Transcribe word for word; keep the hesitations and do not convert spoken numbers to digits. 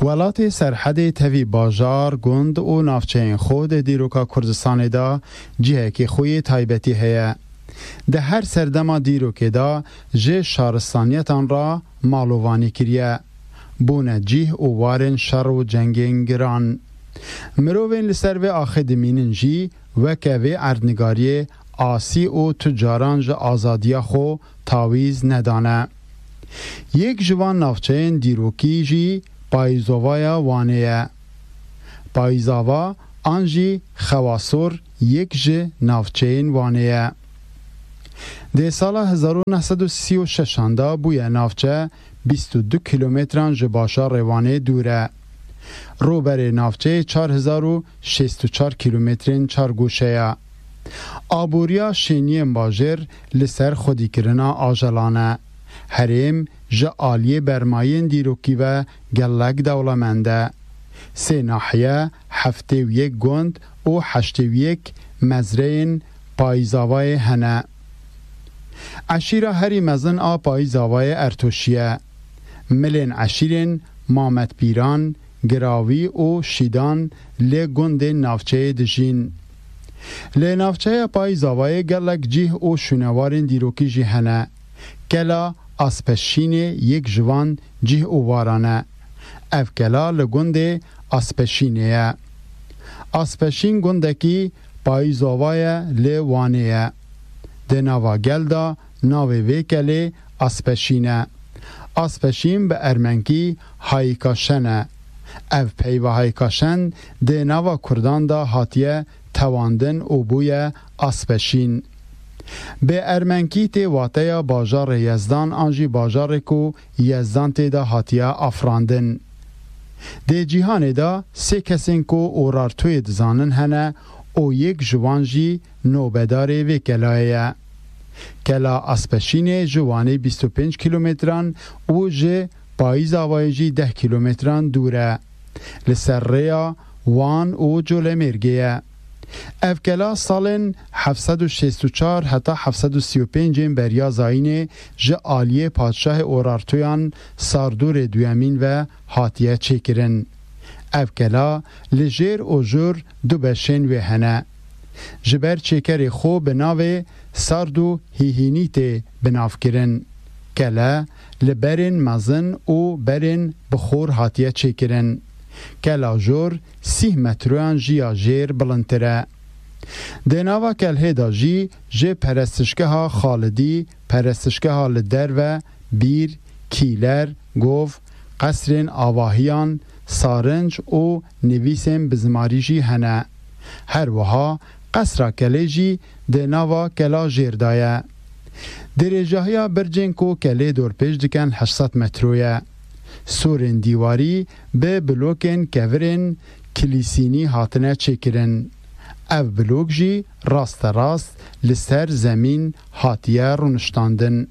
Welatê Serhedê tevî bajar, gund û navçeyên xwe di dîroka Kurdistanê de cihekî xwe yê taybetî heye. Di her serdema dîrokê de ji şaristaniyetan re malovanî kiriye. Bûne cih û warên şer û cengên giran. Mirovên li ser vê axê dimînin jî weke vê erdnigariyê asî û tu caran ji azadiya xwe tawîz nedane. Yek ji van navçeyên dîrokî jî Payîzovaya Wanê ye. Payîzava an jî Xewasor yek ji navçeyên Wanê ye. Dê sala hezar û neh sed û sî û şeşan de bûye navçe bîst û du kîlometran ji bajarê Wanê dûr e. Rûberê navçeyê çar hezar û şêst û çar kîlometrên çargoşe ye. Aboriya şêniyên bajêr li ser xwedîkirina ajelan e. Herêm ji aliyê bermayên dîrokî ve gelek dewlemend e. Sê nahiye, heftê û yek gund û heştê û yek mezreyên Payîzavayê hene. Eşîra herî mezin a Payîzavayê Ertoşî ye. Milên eşîrên Mamet Pîran, Girawî û Şîdan li gundên navçeyê dijîn. Li navçeya Payîzavayê gelek cih û şûnewarên dîrokî jî hene. Kela Aspeşînê yek ji van cih û waran e. Ev kela li gundê Aspeşînê ye. Aspeşîn gundekî Payîzova ye li Wanê ye. Di nava gel de navê vê kelê Aspeşîn e. Aspeşîn bi ermenkî Haykaşen e. Ev peyva Haykaşen di nava kurdan de hatiye tewandin û bûye Aspeşîn. Bi ermenkî tê wateya bajarê Yezdan an jî bajarê ku Yezdan tê de hatiye afirandin. Dê cîhanê de sê kesên ku Urartuyê dizanin hene û yek ji wan jî nobedarê vê kelayê ye. Kela Aspeşînê ji Wanê bîst û pênc kîlometran û ji Payîzavayê jî deh kîlometran dûr e. Li ser rêya Wan û Colemêrgê ye. Ev kela salên heft sed û şêst û çar heta heft sed û sî û pêncên beriya zayînê ji aliyê padşahê Urartuyan Sardûrê duyemîn ve hatiye çêkirin. Ev kela li jêr û jûr du beşên wê hene. Ji ber çêkerê xwe bi navê Sardû Hîhînî tê binavkirin. Kele li berên mezin û berên bi xor hatiye çêkirin. Kela jor sîh metroyan jî ya jêr bilindtir e. Di nava kelhê de jî ji perestişgeha Xalidî, perestişgeha li derve, bîr, kîler, gov, qesrên avahiyan, sarinc û nivîsên bi zimarî jî hene. Her wiha qesra kelê jî di nava kela jêr de ye. Dirêjahiya bircên ku kelê dorpêç dikin heşt sed metro ye. Sûrên dîwarî bi blokên kevirên kilîsînî hatine çêkirin. Ev blok jî rasterast li ser zemîn hatiye rûniştandin.